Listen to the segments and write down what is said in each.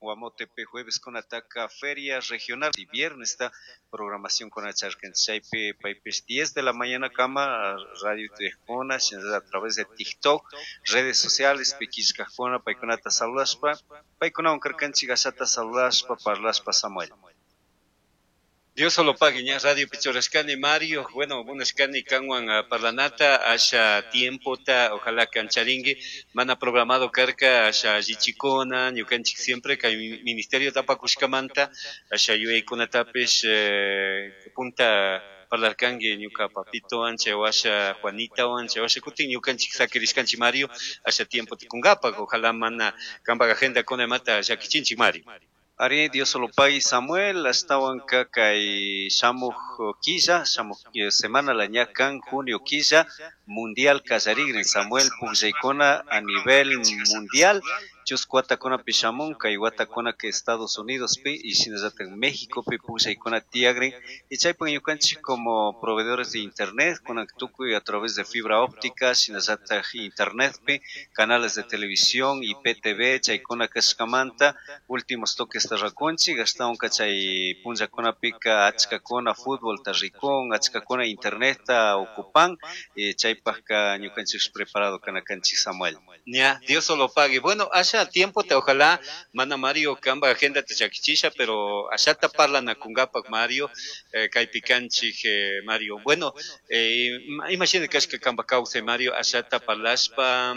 Guamotepe jueves kunataka feria regional y viernes está programación con chaypi paypish 10 de la mañana kama radio tuyajkuna a través de TikTok, redes sociales pi killkajkuna paykunata saludashpa paykunawan karkanchik ashata saludashpa parlashpa, Samuel. Dios solo pague, ña radio pi churashkani, Mario. Bueno, munashkani kanwan parlanata, asha tiempota, ojalá kancharingi, mana programado karka, asha allichikuna, ñukanchik siempre kay ministerio tapakushkamanta, asha yuyaykunatapish punta parlarkangi ñuka papitowan, chay washa Juanitawan, chay washa kutin ñukanchik sakirishkanchik, Mario, asha tiempo tikungapak, ojalá mana kampak agenda kunamata llakichinchik, Mario. Ari, Dios solo pague, Samuel, ashtawanka kay shamuj killa, shamuj semana la ña kan junio killa, mundial kallarigrin, Samuel, pukllaykuna a nivel mundial, chusku watakunapi shamun, kay watakuna que Estados Unidos pi y shinallatak México pi pukllaykuna tiyagrin, y chaypak ñukanchik como proveedores de internet, kunan tukuy a través de fibra óptica, shinallatak internet pi, canales de televisión, IPTV, chaykuna kashkamanta, últimos toques rikunchik, ashtawanka chay punllakunapika achkakuna futbolta rikun, achkakuna internetta ocupan, chaypakka ñukanchik preparado kana kanchik, Samuel. Ya, Dios solo pague. Bueno, asha tiempo te ojalá mana Mario kamba agenda te llakichisha, pero ashata parlanakungapak, Mario, kaypi kanchik, Mario. Bueno, imagina kashka kamba kawsay, Mario, ashata parlashpa,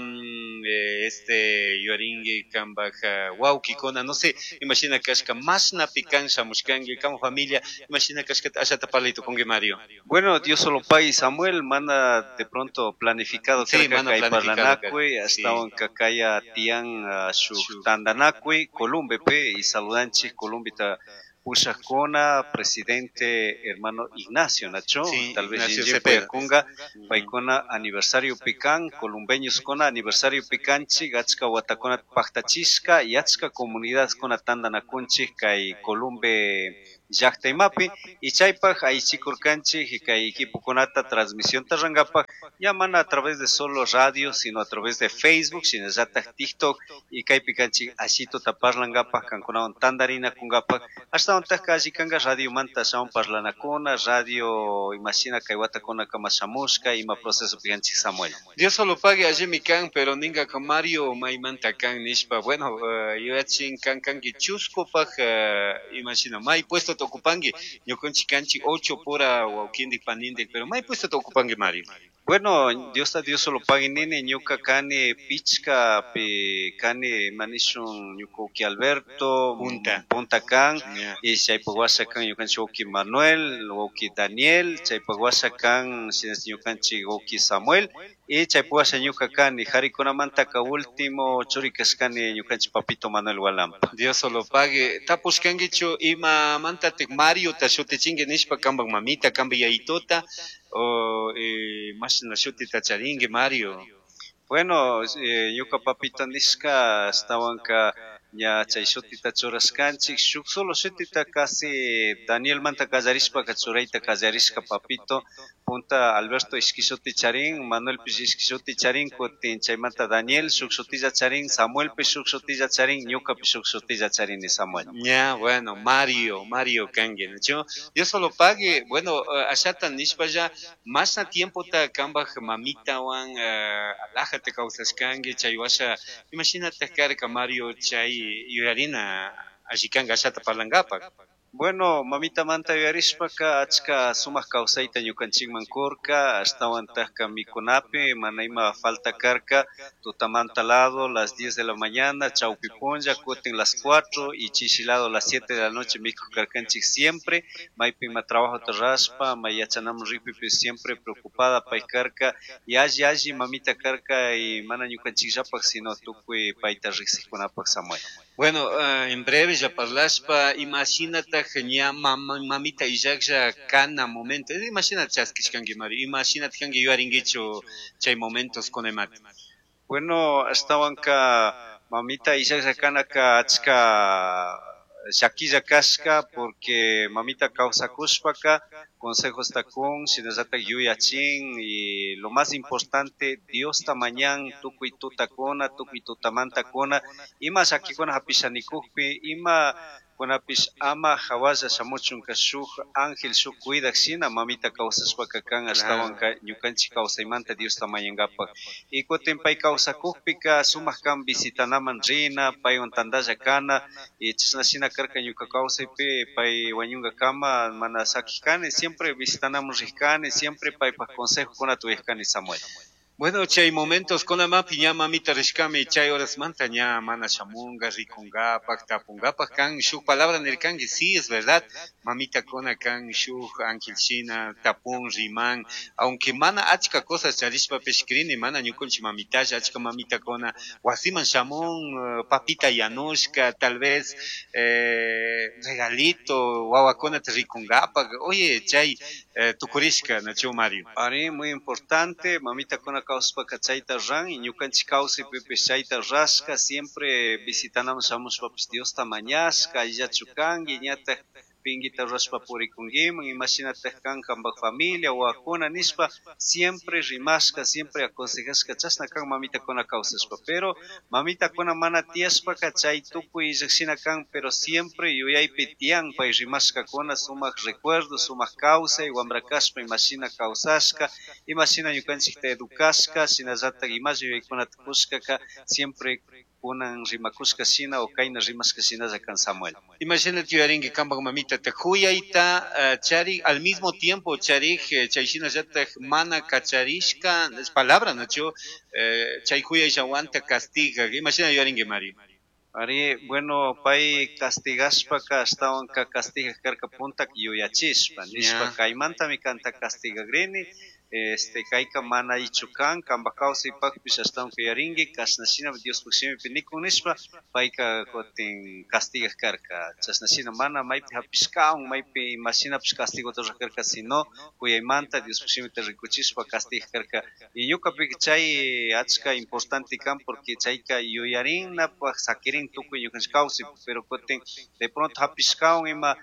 este yuyaringi kamba wawkikuna, no sé, imagina kashka mashnapi kan shamushkangi, kamba familia, imagina kashka ashata parlay tukungi, Mario. Bueno, Dios solo pague, Samuel, mana de pronto planificado Sí, karka mana kay planificado parlanakuy, karka, sí. ashtawan kaya tiyan shuk tandanakuy Columbepe y saludanchik Columbita pushakuna, presidente hermano Ignacio Nacho, Sí, tal vez Ignacio Jinjin Cepeda. Puyakunga, paykuna aniversario pican, columbeños kuna aniversario picanchik, achka watakuna paktachishka y achka comunidad kuna tandanakunchik kay Columbe llaqtaymapi y chaypaj aychikurkanchik y kay equipokunata transmisión rurangapak, ya mana a través de solo radio, sino a través de Facebook, shinallatak TikTok y kaypi kanchik ashituta parlangapak, kankunawan tandarinakungapak, ashtawantaj alli kanka radio manta ashawan parlanakuna, radio imashina kay watakuna kama shamushka, ima proceso pikanchik, Samuel. Dios solo pague, allimi kan, pero ninga ka Mario maymanta kan nishpa, bueno, yuyachin kan kanki chuskupak, imashina may puesto te ocupangi, ñukanchik kanchik 8 pura wawkindik panindik, pero may puesto te ocupangi, Mario. Bueno, Dios ta Dios solo pague nini, ñuka kani pichka pi kani manishun ñuka uki Alberto, Punta. Punta kan, Yeah. y chaypak washa kan ñukanchik wawki Manuel, wawki Daniel, chaypak washa kan ñukanchik wawki Samuel, y chaypak washa ñuka kani, harikunamantaka último churi kashkani ñukanchik papito Manuel Hualampa. Dios solo pague. Tapushkankichu imamantatik Mario ta shutichinki nishpa kampak mamita, kampak yayituta, o mashna shutita charinki, Mario? Bueno, ñuka papito nishka ashtawanka ña chay shutita churashkanchik, shuk solo shutita casi Daniel manta kallarishpaka churayta kallarishka papito, punta Alberto ishki shuti charin, Manuel pish ishki shuti charin, kutin chaymanta Daniel shuk shutilla charin, Samuel pish shuk shutilla charin, ñuka pish shuk shutilla charini, Samuel. Ya, bueno, Mario, Mario kanki, ¿no? Dios solo pague, bueno, ashata nishpa ya, mashna tiempota kambaj mamitawan alajata kawsashkanki, chay washa, imashinata karka, Mario, chay yuyarina alli kanka ashata parlangapak. Bueno, mamita manta yuyarishpaka achka sumak kawsayta ñukanchikman kurka, ashtawantajka mikunapi, mana ima falta karka, tutamanta lado las 10 de la mañana, chawpi punlla, kutin las 4 y chishi lado las 7 de la noche mikuk karkanchik siempre, maypi ima trabajota rashpa, may yachanamun rikpipish siempre preocupada pay karka, y alli alli mamita karka y mana ñukanchikllapak, sino tukuy payta riksiqkunapak, Samuel. Bueno, en breve ya parlashpa, imashinataj ña mamita illaklla kana momento, imashina chaskishkanki, Mario, imashinata kanki yuyarinkichu chay momentos kunemata? Bueno, ashtawanka mamita illaklla kanaka achka Llaquilla cashca porque mamita kawsakushpaka consejosta kun, shinallatak yuyachin y lo más importante Diosta mañan tukuy tutakuna, tukuy tutamantakuna ima llaquikuna hapisha nikukpi, ima kunapish ama hawalla shamuchunka shuk ángel, shuk cuidak shina mamita kawsashpaka kan ashtawanka ñukanchik kawsaymanta Diosta mañankapak. Y kutin pay kawsakukpika sumak kan visitanaman rina, paywan tantalla kana y chashna shina karka ñuka kawsaypi pay wañunkakama mana sakijkani, siempre visitanaman rijkani, siempre paypak consejokunata uyajkani, Samuel. Bueno, chay momentos kunamapi ña mamita rishkami, chay horasmanta ña mana shamunga, rikungapak, tapungapak kan shuk palabra nirkanki, sí, es verdad, mamita kuna kan shuk ángel shina, tapun, riman, aunque mana achka cosas charishpapish crini, mana ñukunchik mamitalla, achka mamitakuna wasiman shamun, papita yanushka, tal vez regalito, wawakunata rikungapak, oye, chay tukurishka, nachu Mario? Ari, muy importante, mamita kuna kawsashpaka chayta ran y ñukanchik kawsaypipish chayta rashka, siempre visitanaman shamushpapish Diosta mañashka, allillachu kanki, ñatak pinguita rurashpa purikunkiman, imashinatak kan kanpak familia, wawakuna nishpa, siempre rimashka, siempre aconsejashka, chashna kan mamitakuna kawsashpa. Pero mamitakuna mana tiyashpaka chay tukuy llakshina kan, pero siempre yuyaypi tiyan pay rimashkakuna, sumak recuerdo, sumak kawsay, wambra kashpa imashina kawsashka, imashina ñukanchikta educashka, shinallatak imalla yuyaykunata kushkaka, siempre kunan rimakushka shina o kayna rimashka shinalla kan, Samuel. Imagínate yuyarinki kanpak mamita ta juyayta chari al mismo tiempo charik chay shinallatak mana kacharishka es palabra nachu chay juyayllawanta castiga, imashina yuyarinki, Mario? Ari, bueno, pay castigashpaka ashtawanka castigaj karka puntak yuyachishpa, nishpa kaymantami kanta castigagrini, kayka mana allichu kan, kanpak kawsaypakpish ashtawanka yuyarinki, kashna shina Diospuk shimipi nikun nishpa, payka kutin castigaj karka, chashna shina mana maypi hapishkawan, maypi imashinapish castigota rurak karka, sino kuyaymanta Diospuk shimita rikuchishpa castigaj karka. Y ñukapika chay achka importante kan, porque chayka yuyarinapak sakirin tukuy ñukanchik kawsaypi, pero kutin de pronto hapishkawan ima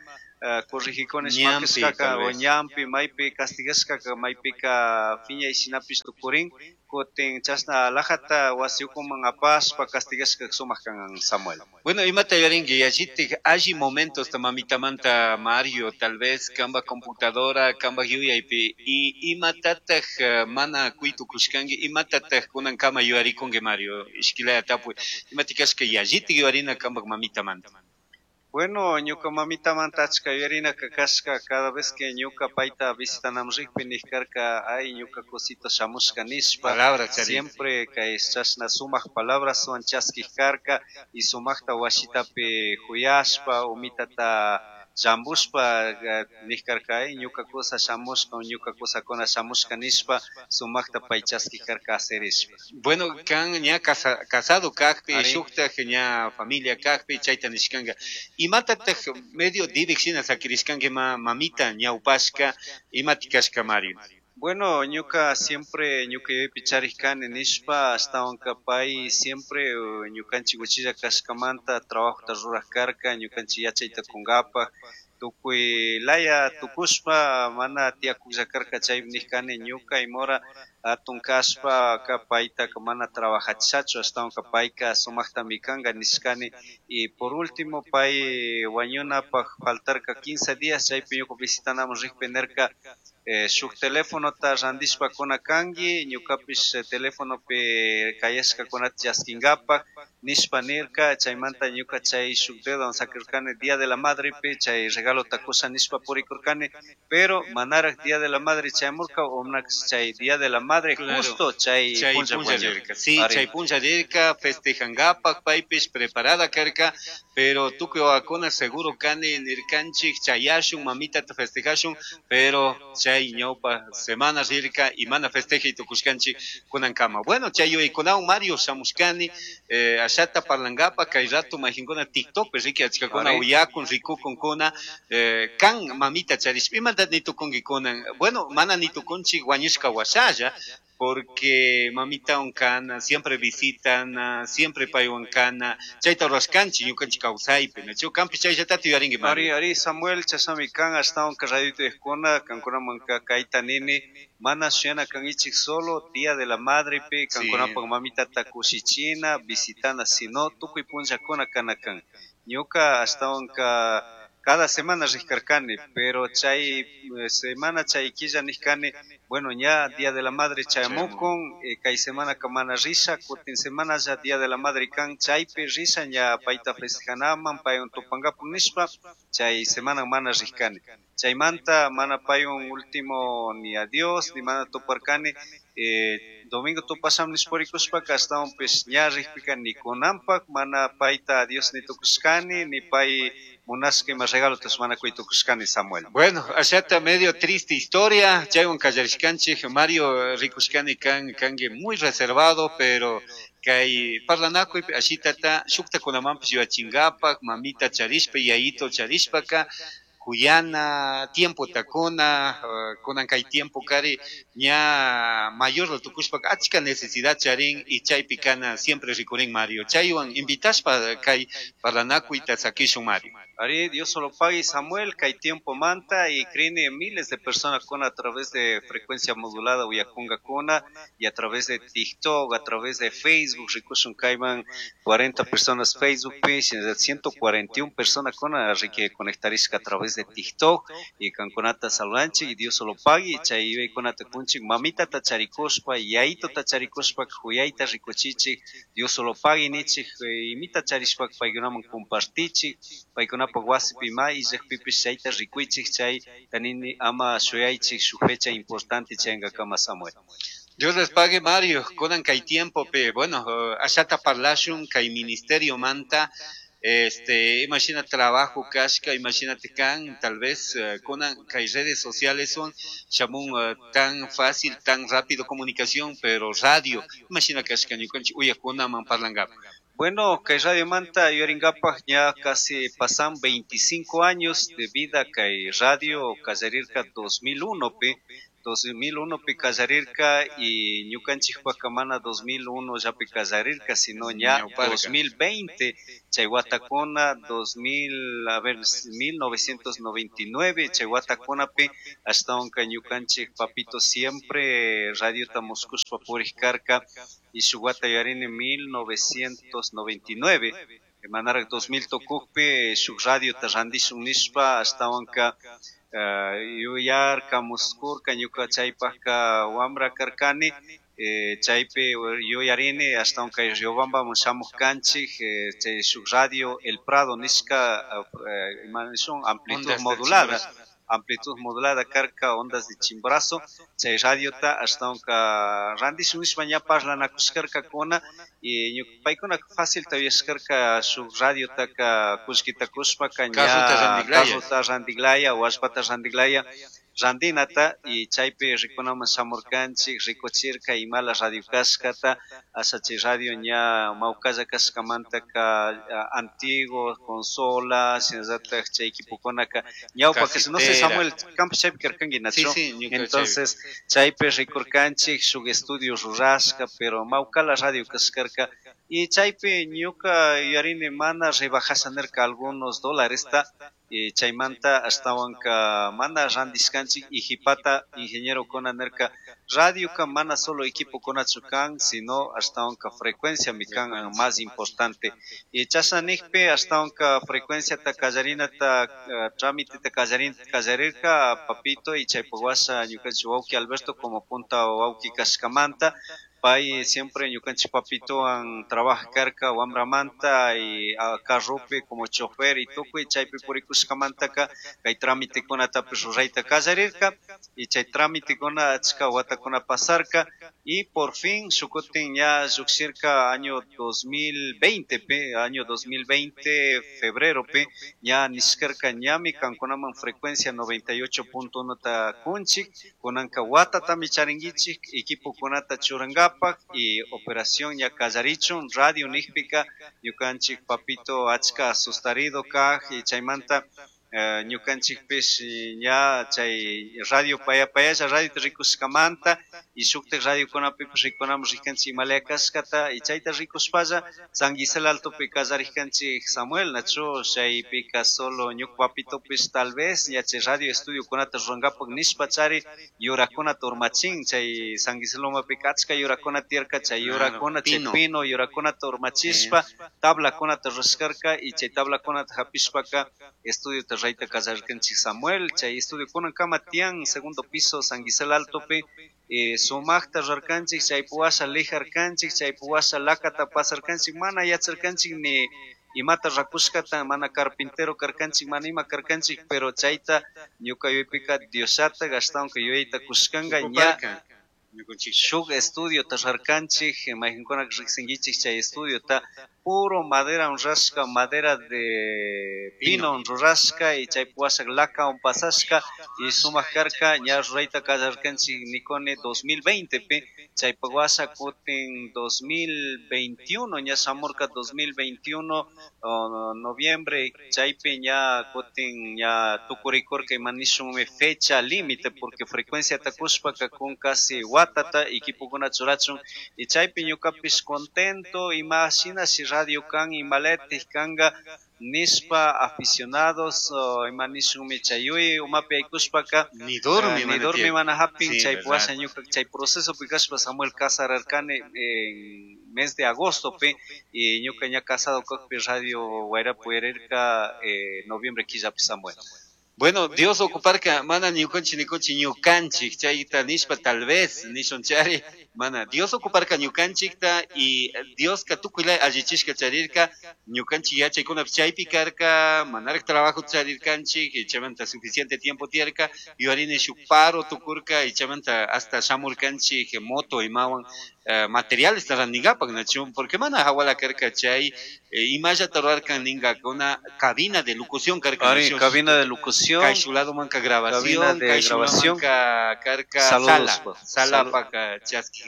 corregikunash Ñampi, makashkaka tal o vez. Ñampi maypi castigashkaka maypika phiñay shinapish tukurin, kutin chashna alajata wasi ukuman apashpa castigashka sumak kan, Samuel. Bueno, imata yuyarinki yallitik alli momentos ta mamitamanta, Mario, tal vez kanpak computadora, kanpak yuyaypi, y imatataj mana kuy tukushkanki, imatataj kunankama yuyarikunki, Mario? Ishkilaya tapuy, imatikashka yallitik yuyarina kanpak mamitamanta? Bueno, ñuka mamitamanta achka yuyarinaka kashka, cada vez que ñuka payta visitanaman rikpi nik karka, ay ñuka cosito shamushka nishpa, Palabra charin. Siempre kay chashna sumak palabraswan chaskik karka y sumakta washitapi juyashpa, umitata llambushpa nik karka, ay ñuka kusa shamushka, ñuka kusakuna shamushka nishpa, sumakta pay chaskik karka aserishpa. Bueno, kan ña casado kakpi, Ari. shuktaj ña familia kakpi, chayta nishkanka. Imatataj medio dibik shina sakirishkanki ma mamita ñawpashka, imatikashka, Mario? Bueno, ñuka siempre ñuka yuyaypi charik kani nishpa, ashtawanka pay siempre ñukanchik uchilla kashkamanta trabajota rurak karka, ñukanchik yachayta kunkapak, tukuy laya tukushpa mana tiyakuklla karka, chaypi nik kani ñuka imora atun kashpa ka paytaka mana trabajachishachu, ashtawanka payka sumaktami kanka nishkani. Y por último pay wañunapak faltarka 15 días, chaypi ñuka visitanaman rikpi nirka, shuk telefonota randishpa kuna kanki, ñukapish telefonopi kayashkakunata chaskinkapak nishpa nirka, chaymanta ñuka chay shuk dedo sakirkani Día de la Madrepi chay regalota kusha nishpa purikurkani, pero manarak Día de la Madre chayamurka, o chay Día de la Madre justo chay Chay punlla punlla wañurka. Rirka. Sí, Ari. Chay punlla rirka, festejankapak, paypish preparada karka, pero tukuy wawakuna seguro kani nirkanchik chayashun, mamitata festejashun, pero chay ñawpa semana rirka y mana festejay tukushkanchik kunankama. Bueno, chay yuyaykunawan Mario shamushkani, ashata parlankapa, kay rato majinkuna TikTok, pues, riki achkakuna Ari. uyakun, rikukunkuna, kan mamita charishpa, imata nitukunki kunan? Bueno, mana nitukunchik wañushka washalla, Porque mamitawan kana, siempre visitana, siempre paywan kana, chayta rurashkanchik ñukanchik kawsaypi, nachu kanpish chayllatata yuyarinki Ari, ari Samuel, chashnami kan, ashtawanka radioyta kankunamanka kayta nini, mana shuyana kankichik solo Día de la Madrepi kankunapak mamitata kushichina, visitana, sino tukuy punllakuna kana kan. Ñuka ashtawanka cada semana rikarkani, pero chay semana chay killa nijkani, bueno, ña Día de la Madre chayamukun, kay semanaka mana risha, kutin semana ya Día de la Madre kan, chaypi risha ña payta festejanaman, paywan tupankapak nishpa, chay semana mana rijkani. Chaymanta mana paywan último ni adiós, ni mana tuparkani, domingo tupasham nishpa purikushpaka ashtawanpish ña rikpika ni kunanpak mana payta adiós ni tukushkani, ni pay munashka ima regalotash mana kuy tukushkani, Samuel. Bueno, ashata medio triste historia, chaywan kallarishkanchik, Mario, rikushkani kan kanki muy reservado, pero kay parlanakuypi ashitata shuktakunamanpish yuyachinkapak, mamita charishpa, yayito charishpaka, kuyana, tiempota kuna, kunan kay tiempo kari ña mayor tukushpaka achka necesidad charin y chaypi kana siempre rikurin Mario. Chaywan invitashpa kay parlanakuyta sakishun, Mario. Ari, Dios solo pague, Samuel, kay tiempo manta y creen miles de personas con a través de frecuencia modulada uyakungakuna y a través de TikTok, a través de Facebook, rikushun kayman 40 personas Facebook page, 141 personas con a que conectarishka a través de TikTok y kankunata saludanchik y Dios solo pague, chay yuyaykunata kunchik, mamita ta charikushpa, yayito ta charikushpa, kuyayta rikuchichik, Dios solo pague nichik, imita charishpa paykunaman compartichik, paykunapak wasipi ma illakpipish chayta rikuychik, chay tanini ama shuyaychik shuk fecha importante chayankakama, Samuel. Dios les pague, Mario, kunan kay tiempo pe, bueno, ashata parlashun kay ministerio manta, imagina trabajo kashka, imagínate kan, tal vez kunan kay redes sociales son shamun tan fácil, tan rápido comunicación, pero radio, imagina kashka ñukanchik uyakunaman parlankapa. Bueno, kay Radio Manta yuyarinkapak ña casi pasan 25 años de vida kay radio kallarirka 2001 pi, 2001 pi kallarirka y ñukanchikpaka mana 2001 llapi kallarirka, sino ña Ñawparka. 2020, chay watakuna 2000, a ver, 1999, chay watakunapi ashtawanka ñukanchik papito siempre radiota muskushpa purik karka y shuk wata yuyarini 1999, manarak 2000 tukukpi shuk radiota randishun nishpa ashtawanka yuyarka muskurka ñuka chaypakka wambra karkani, chaypi yuyarini ashtawan kay Riobambaman shamuk kanchik, chay shuk radio El Prado nishka, ima nishun amplitud Ondas de modulada, Chimborazo. Amplitud modulada karka ondas de Chimborazo, chay radiota ashtawanka randishun nishpa ña parlanakushkarkakuna y paykuna fácil uyashkarka shuk radiotaka kullkita kushpaka ña Carrota randiglaya. Carrota randiglaya o allpata randiglaya randinata y chaypi rikunaman shamurkanchik, rikuchirka imala radio kashkata, asha chay radio ña mawkalla kashkamantaka, antiguo, consola, shinallatak chay equipokunaka ñawpa que no sé, Casetera. Samuel, kanpish chaypi karkanki, Nacho. Sí, sí, ñuka chaypi. Entonces, chaypi rikurkanchik shuk estudio rurashka, pero mawkala radio kashkarka y chaypi ñuka yuyarini mana rebajasha nirka algunos dólares ta, y chaymanta ashtawanka mana randishkanchik y jipata ingeniero kuna nirka radioka mana solo equipo kunachu kan, sino ashtawanka frecuencia mi kan más importante. Y chashna nikpi ashtawanka frecuencia ta kallarinata, trámite ta kallarirka papito y chaypak washa ñukanchik wawki Alberto como punta wawki kashkamanta pay siempre ñukanchik papitowan trabaja karka wambramanta y a carropi como chofer y tukuy chaypi purikushkamantaka kay trámitekunatapish rurayta kallarirka y chay trámitekuna achka watakuna pasarka y por fin shukutin ña llukshirka año 2020 pe, año 2020 febrero pe, ña nishkarka ñami kankunaman frecuencia 98.1 ta kunchik, kunanka watatami charinkichik equipokunata churankapak y operación ya kallarichun radio nikpika ñukanchik papito achka asustarido kaj y chaymanta Ñukanchikpish ña chay radio paya payalla radiota rikushkamanta y shuktik radiokunapipish rikunamun rikanchik imalaya kashkata y chayta rikushpalla San Gisela Altopi kallarikanchik, Samuel, nachu? Chaypika solo ñuka papitopish tal vez ña chay radio estudiokunata rurankapak nishpachari yurakunata urmachin. Chay San Gisela lomapika achka yurakuna tiyarka, chay yurakuna, chay pino yurakunata urmachishpa tablakunata rurashkarka y chay tablakunata hapishpaka estudiota rayta kallarkanchik, Samuel. Chay estudio kunankama tiyan, segundo piso, San Gisela Altopi. Sumakta rurarkanchik, chaypi washa lijarkanchik, chaypi washa lakata pasarkanchik, mana yacharkanchik ni imata rakushkata, mana carpintero karkanchik, mana ima karkanchik, pero chayta ñuka yuyaypika Diosllatak ashtawanka yuyayta kushkanka ña shuk estudiota rurarkanchik. Maykankunaka riksinkichik chay estudiota, puro madera rurashka, madera de pino rurashka y chaypi washa lakawan pasashka y sumak karka. Ña rurayta kallarkanchik nikuni 2020 pi. Chaypak washa kutin 2021 ña shamurka, 2021 noviembre, chaypi ña kutin ña tukurikurka, ima nishunmi, fecha límite, porque frecuenciata kushpaka kun casi watata equipokuna churachun. Y chaypi ñukapish contento, ima shinashi radio kan, imalatik kanka nishpa, aficionados, ima nishunmi, chay yuyay umapi yaykushpaka ni dormi ni dormi mana hapin. Chay washa ñuka chay procesopi kashpa, Samuel, casararkani en mes de agosto pi y ñuka ña casado kakpi radio Wayrapi uyarirka noviembre killapi, Samuel. Bueno, Dios ocuparka mana ñukanchik nikunchik ñukanchik chayta nishpa tal vez nishunchari, mana Dios ocuparka ñukanchikta y Dioska tukuylaya allichishka charirka. Ñukanchik yachaykunapish chaypi karka, manarak trabajo charirkanchik y chaymanta suficiente tiempo tiyarka. Yuyarini shuk paro tukurka y chaymanta hasta shamurkanchik moto imawan materiales rantinkapak, nachu? Porque mana hawala karka chay imallata rurarkan ninkakuna, cabina de locución karka. Ari, cabina de locución. Kay lado manka grabación, de grabación, karka sala, sala paka chaski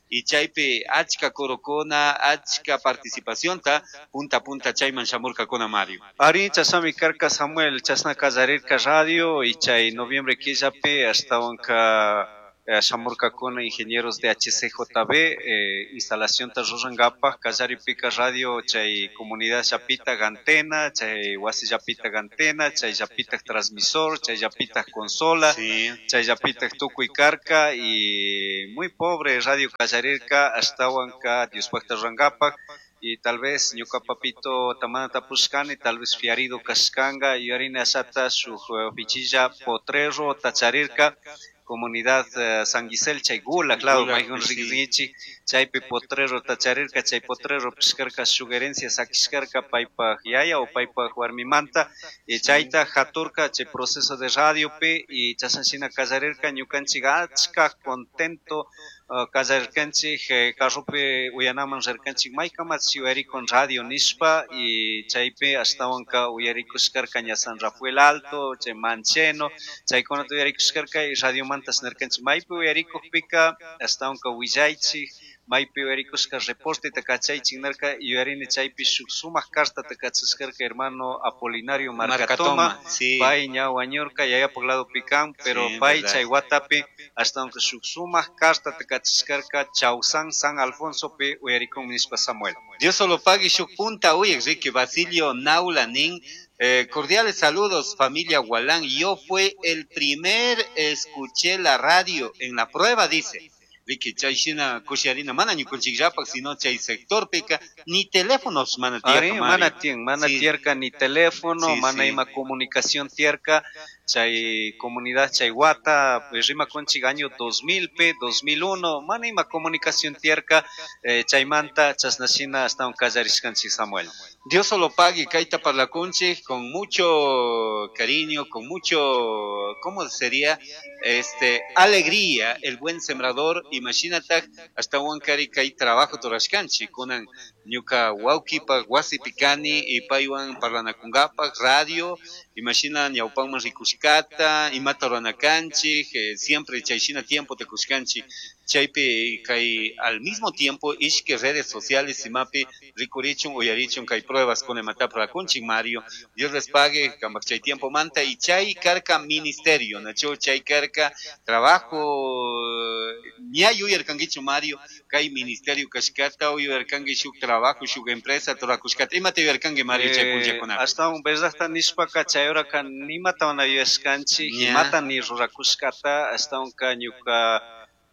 y chaypi achka corocona, achka participación ta punta punta chayman shamurkakuna, Mario. Ari, chashnami karka, Samuel, chashna kallarirka radio y chay noviembre killapi ashtawanka shamurkakuna ingenieros de HCJB instalación ta rurankapak. Kallaripika radio chay comunidad llapita antena, chay wasi llapita antena, chay llapita transmisor, chay llapita consola, chay llapita tukuy karka y muy pobre radio kallarirka, ashtawanka Diospakta rurankapak. Y tal vez ñuka papito tamana tapushkani, tal vez fiarido kashkanga, yuyarini ashata shuk pichilla potrero tacharirka comunidad San Gisel, chay Gulag lado, mayjun riqsinchik, chaypi potrero tacharirka. Chay potrero pishkarka shuk herencia sakishkarka paypak yaya o paypak warmimanta y chayta haturka chay proceso de radiopi y chashan shina kallarirka. Ñukanchik achka contento kallarirkanchik, carropi uyanaman rirkanchik, maykamachi uyarikun radio nishpa, y chaypi ashtawanka uyarikushkarka ña San Rafael Alto, chay Mancheno, chaykunata uyarikushkarka y radiomanta nirkanchik maypi uyarikukpika ashtawanka willaychik, maypi uyarikushka reporteta kachaychik nirka. Yuyarini chaypi shuk sumak cartata kachashkarka hermano Apolinario Marcatoma, pay ña wañurka, yayapak ladopi kan, pero pay chay watapi ashtawanka shuk sumak cartata kachashkarka Chausan San Alfonsopi uyarikun nishpa, Samuel. Dios solo pague shuk punta uyak Ricky Basilio Naula nin: "Cordiales saludos, familia Gualán. Yo fue el primer escuché la radio en la prueba", dice. Ricky, chay shina kushiarina mana ñukanchikllapak, sino chay sectorpika ni teléfonos mana tiyarka. Mana tiyan, mana tiyarka ni teléfono, mana ima comunicación tiyarka chay comunidad chay wata, pues rimakunchik año 2000 p 2001, mana ima comunicación tiyarka chaymanta chashna shina ashtawan kallarishkanchik, Samuel. Dios solo pague, kayta parlakunchik con mucho cariño, con mucho, ¿cómo sería? Alegría, el buen sembrador, imagínate, hasta kari kay trabajo rurashkanchik, kunan ñuka wawkipak wasipi kani y paywan parlanakunkapak radio, imagina ñawpanman rikushkata, imata ruranakanchik, siempre chay shina tiempo te kushkanchik. Chaypi kay al mismo tiempo ishki redes sociales imapi rikurichun uyarichun kay pruebas kuna imatapish rurakunchik Mario. Dios les pague kampak chay tiempo manta y chay karka ministerio, nachu chay karka trabajo ña yuyarkankichu Mario kay ministerio kashkata o yuyarkanki shuk trabajo shuk empresa rurakushkata imata yuyarkanki Mario chay punllakunapi. Ashtawan verdadta nishpaka chay horaka nimata mana yuyashkanchik, imata ni rurakushkata, ashtawanka ñuka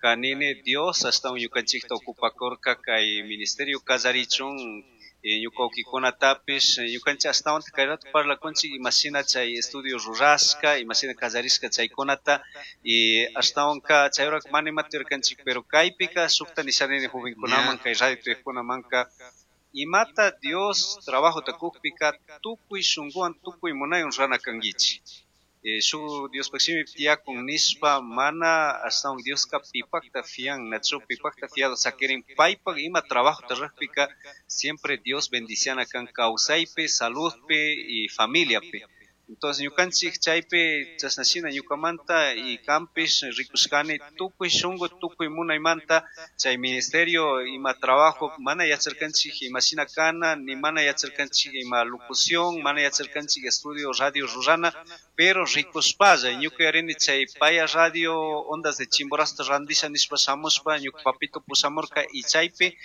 kanini Dios ashtawan ñukanchikta ocupakurka kay ministerio kallarichun ñuka wawkikunatapish ñukanchik ashtawanta kay rato parlakunchik imashina chay estudio rurashka, imashina kallarishka chaykunata y ashtawanka chay horaka mana imata yuyarkanchik, pero kaypika shukta nishanini jovenkunaman kay radio tuyakkunamanka imata Dios trabajota kukpika tukuy shunkuwan tukuy munaywan rurana kankichik. Shuk Diospaj shimi tiyakun nishpa mana ashtawan Dioska pipakta fian, nachu pipakta fiado sakirin paypak ima trabajota rurajpika siempre Dios bendiciana kan kawsaypi, saludpi y familiapi. Entonces ñukanchik chaypi chashna shina ñukamanta y kanpish rikushkani tukuy shunku tukuy munaymanta chay ministerio ima trabajo mana yacharkanchik imashina kana ni mana yacharkanchik ima locución, mana yacharkanchik estudio radio rurana, pero rikushpalla ñuka yuyarini chay paya radio ondas de Chimborazo randisha nishpa shamushpa ñuka papito pushamurka y chaypi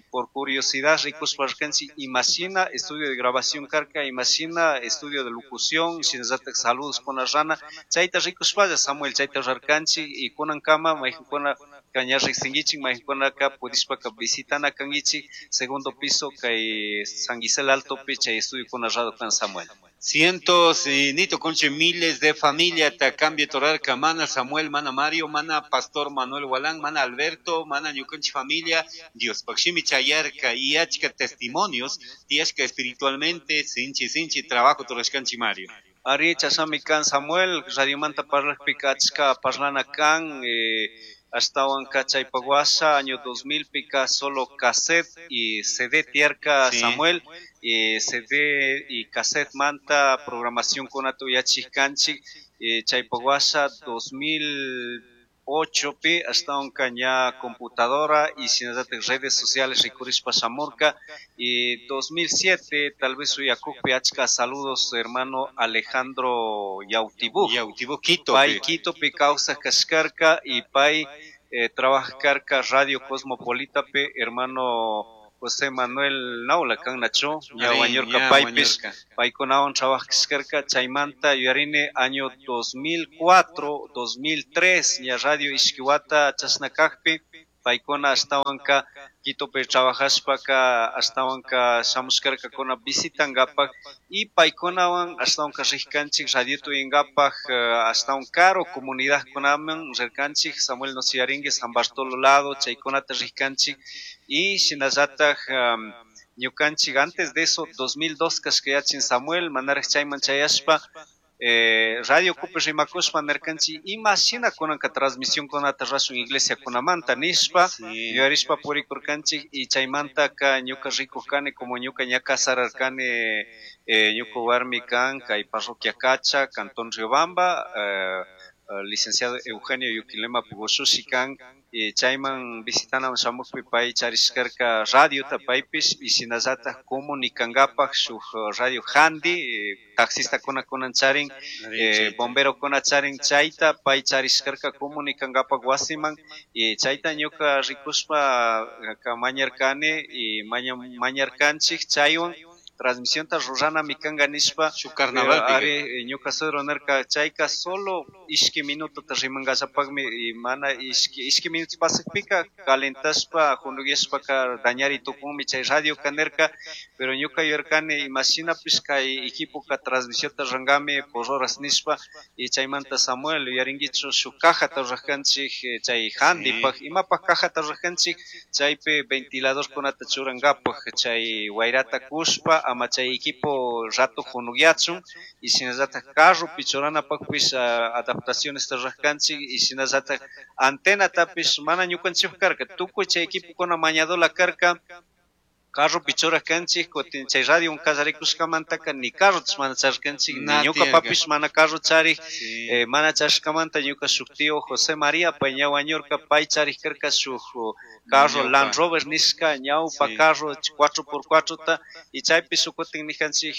por curiosidad rikushpa rirkanchik imashina estudio de grabación karka, imashina estudio de locución, shinallatak saludos kuna rana, chayta rikushpalla Samuel chayta rurarkanchik y kunankama mayqankuna ña riqsinkichik mayqankunaka pudishpaka visitana kankichik segundo piso kay San Gisela Altopi chay estudio kuna radio kan Samuel. Cientos y nito conche miles de familia ta cambio torarka mana Samuel, mana Mario, mana Pastor Manuel Gualán, mana Alberto, mana ñukanchik familia, Dios pakshimi chayarka y achka testimonios, tiyashka espiritualmente sinchi sinchi trabajo torashkanchik Mario. Ari chashami kan Samuel, radiomanta parlajpika achka parlana kan, ashtawanka chaypak washa año 2000 pika solo cassette y CD tiyarka Samuel, y CD y cassette manta programación kunata uyachik kanchik, chaypak washa 2008 pi ashtawanka ña computadora y shinallatak redes sociales rikurishpa shamurka y 2007 tal vez uyakukpi achka saludos hermano Alejandro Yautibú. Yautibú, Quito. Pay Quitopi kawsak kashkarka y pay trabajarka Radio Cosmopolita pe hermano José Manuel Naula kan nachu ña wañurka paypish paykunawan trabajashkarka chaymanta yuyarini año 2004, 2003 ña radio Ishkiwata chashna kakpi paykuna ashtawanka Quitopi trabajashpaka ashtawanka shamushkarkakuna visitankapak y paykunawan ashtawanka rijkanchik radioto uyankapak ashtawan karu comunidadkunaman rirkanchik Samuel nos yuyarinki San Bartolo lado chaykunata rijkanchik y shinallatak ñukanchik antes de eso 2002 kashkayachin Samuel manaraj chayman chayashpa radio kupi rimakushpa nirkanchik imashina kunanka transmisión kunata rurashun iglesia kunamanta nishpa yuyarishpa purikurkanchik y chaymantaka ñuka rikuk kani como ñuka ña casararkani ñuka warmi kan kay parroquia Cacha, Cantón Riobamba, licenciado Eugenio Yuquilema Pugoshushi kan, y chayman visitanaman shamukpi pay charishkarka radiota paypish y shinallatak comunicankapak shuk radio handi, taxistakuna kunan charin, bomberokuna charin chayta pay charishkarka comunicankapak wasiman y chayta ñuka rikushpa mañarkani y mañarkanchik chaywan transmisión ta rurana kanka nishpa Shuk carnaval pero ari ñuka suegro nirka chayka solo ishki minuto ta rimankallapakmi y mana ishki minuto pasakpika calentashpa junuyashpaka dañari tukunmi chay radio ka nirka, pero ñuka yuyarkani imashinapish kay equipoka transmisión ta rurankami por horas nishpa y chaymanta Samuel yuyarinkichu shuk cajata rurajkanchik chay handipak imapak cajata rurajkanchik chaypi ventiladorkunata churankapak chay wayrata kushpa ama chay equipo rato junuyachun y shinallatak carropi churanapakpish adaptaciones rurajkanchik y shinallatak antenatapish mana ñukanchik karka tukuy chay equipokuna mañadola karka. Carropi churaj kanchik, kutin chay radio kallarikushkamantaka ni carrotash mana charirkanchik, ni ñukapapish mana carro charik, mana charishkamanta ñuka shuk tío José María, pay ña wañurka, pay charik karka shuk carro Land Rover nishka, ñawpa carro 4x4 ta, y chaypi shuk kutin nijanchik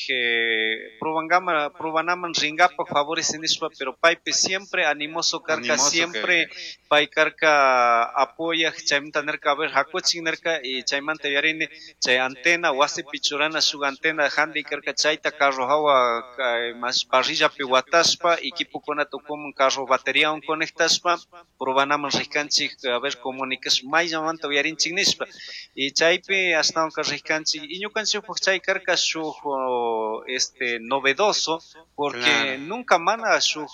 probangama, probanaman ringapak favorece nishpa, pero paypi siempre animoso karka, siempre pay karka apoyaj, chaymanta nirka, a ver, hakuchik nirka, y chaymanta yuyarini chay antena wasipi churana shuk antena handi karka, chayta carro hawa mas parrillapi watashpa, equipokunata ukuman carro bateriawan conectashpa probanaman rikanchik, a ver, comunicash mayllamanta uyarinchik nishpa, y chaypi ashtawanka rikanchik, y ñukanchikpak chay karka shuk novedoso, porque nunca mana shuk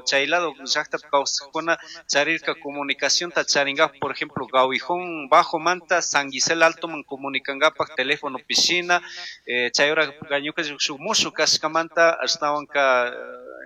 chay lado llaktapi kawsajkuna charirka comunicacionta charinkapak, por ejemplo, Gawijón bajo manta San Gisel altoman comunicankapak teléfono pishina, chay hora ñukanchik shuk mushuk kashkamanta ashtawanka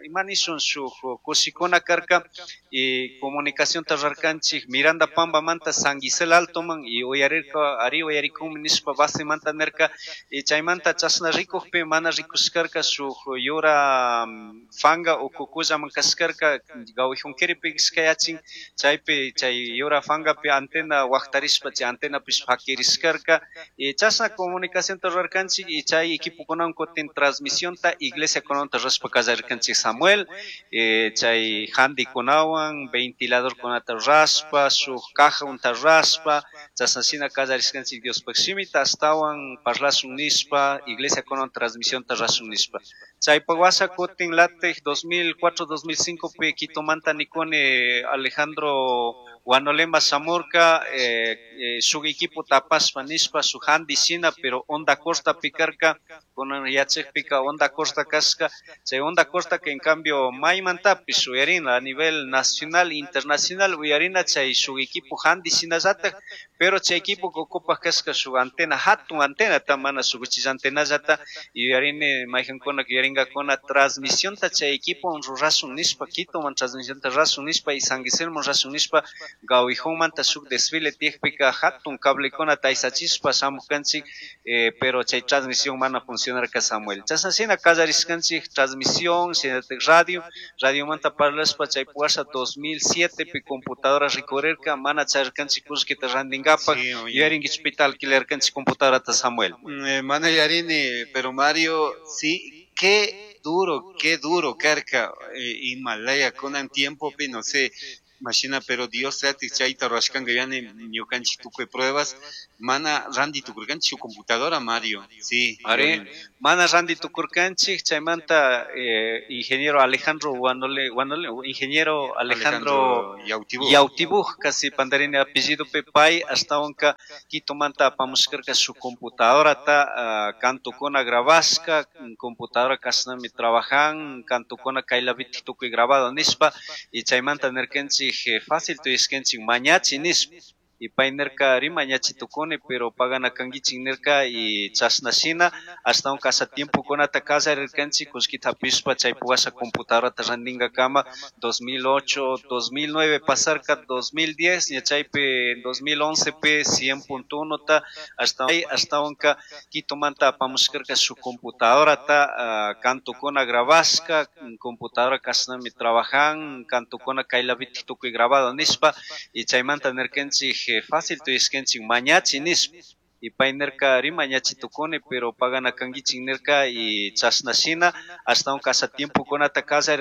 ima nishun shuk kushikuna karka, y comunicacionta rurarkanchik Miranda Pamba manta San Gisel altoman, y uyarirka ari uyarikunmi nishpa base manta nirka, y chaymanta chashna rikukpi mana rikushkarka shuk yura fanga ukukullaman kashkarka Gawijunquiripi kashkayachin, chaypi chay yura fangapi antena waktarishpa chay antenapish fakirishkarka, y chashna comunicacionta rurarkanchik, y chay equipokunawan kutin transmisionta iglesiakunawanta rurashpa kallarirkanchik Samuel, chay handikunawan ventiladorkunata rurashpa, shuk cajaunta rurashpa, chashna shina kallarishkanchik Diospaj shimita ashtawan parlashun nishpa, iglesiakunawan transmisionta rurashun nishpa. Chaypak washa kutin latik 2004, 2005 pi Quitomanta nikuni Alejandro Guanolema shamurka, shuk equipo tapashpa nishpa, shuk handi shina, pero onda corta pikarka, kunan yachakpika onda corta kashka, chay onda corta que en cambio maymantapish uyarina a nivel nacional, internacional uyarina chay shuk equipo handi shinallatak, pero chay equipo okupak kashka shuk antena, hatun antenata, mana shuk uchilla antenallata, yuyarini mayjankuna yuyaringakuna transmisionta chay equipo rurashun nishpa, Quitoman transmisionta rurashun nishpa y San Guillermo rurashun nishpa, Gawijonmanta shuk desfile tiyakpika hatun cablekunata aysachishpa shamukanchik, pero chay transmisión mana funcionarka Samuel. Chashna shina kallarishkanchik transmisión, shinatak radio, radiomanta parlashpa chay puwasha 2007 pi computadora rikurirka, mana charirkanchik kullkita rantinkapak, yuyarinkichpita alquilarkanchik computadorata Samuel. Mana yuyarini, pero Mario, sí, qué duro karka, Himalaya kunan tiempopi, no sé, mashina, pero Dios llatik chayta rurashkanka yani ñukanchik tukuy pruebas, mana ranti tukurkanchik shuk computadora, Mario, sí. Ari, mana ranti tukurkanchik, chaymanta ingeniero Alejandro Guanole, Guanole, ingeniero Alejandro Alejandro Yautibuj. Yautibuj, casi pandarini apellido pe pay, ashtawanka Quitomanta apamushkarka shuk computadorata, kantukuna grabashka, computadora kashnami trabajan, kantukuna kaylapitik tukuy grabado nishpa, y chaymanta nirkanchik, fácil tuyashkanchik mañachi nishpa, y pay nirka rimañachi tukuni, pero pagana kankichik nirka, y chashna shina, ashtawanka asha tiempokunata kallarirkanchik, kullkita hapishpa chay puwasha computadorata rantinkakama, 2008, 2009 pasarka, 2010, ña chaypi 2011 pi 100.1 ta, ashtawanka Quitomanta apamushkarka shuk computadorata, kantukuna grabashka, computadora kashnami trabajan, kantukuna kaylapitik tukuy grabado nishpa, y chaymanta nirkanchik, fácil tuyashkanchik mañachi nishpa, y pay nirka rimañachi tukuni, pero pagana kankichik nirka, y chashna shina, ashtawanka asha tiempokunata kallarirkanchik.